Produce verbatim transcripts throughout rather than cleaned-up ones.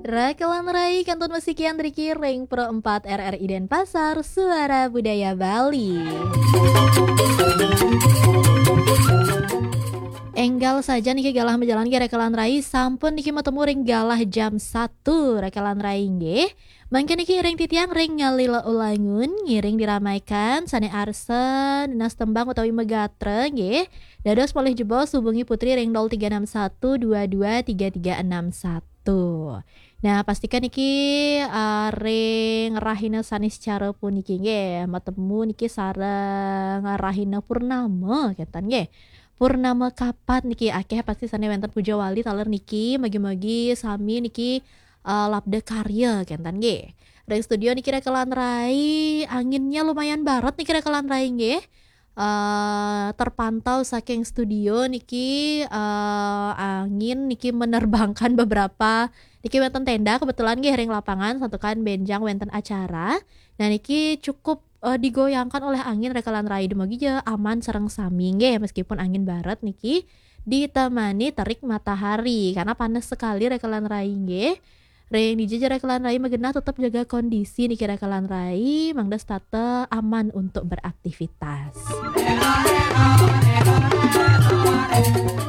Rakelan Rai kantun masikian driki ring Pro empat R R I Denpasar, Suara Budaya Bali. Enggal saja niki galah majalan nggih Rakelan Rai, sampun niki matemu ring galah jam satu Rakelan Rai nggih. Mangkin niki ring titiang ring ngalila ulangun, ngiring diramaikan, sane arsa, nunas tembang utawi magatra nggih. Dados polih jebos hubungi Putri ring nol tiga enam satu dua dua tiga tiga enam satu. Nah, pastikan niki, eh, ring rahina sane secara puniki nggih, matemu niki sareng rahina purnama, kenten nggih. Purnama kapat niki akeh pasti sane wenten puja wali taler niki, mugi-mugi sami niki, eh, labda karya, kenten nggih. Ring studio niki Rakelan Rai, anginnya lumayan barat niki Rakelan Rai nggih. Eh, terpantau saking studio niki, eh, angin niki menerbangkan beberapa niki wenten tenda kebetulan nggih ring lapangan santukan benjang wenten acara. Nah, niki cukup, eh, digoyangkan oleh angin Rakelan Rai, dumugi ja aman sareng sami nggih meskipun angin barat niki ditemani terik matahari karena panas sekali Rakelan Rai nggih. Ring dija ja Rakelan Rai magenah tetep jaga kondisi niki Rakelan Rai, mangda setata aman untuk beraktivitas.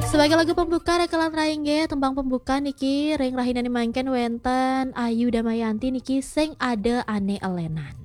Sebagai lagu pembuka Rakelan Rai nggih, tembang pembuka niki ring rahinane mangkin wenten Ayu Damayanti niki Sing Ada Ane Elenan.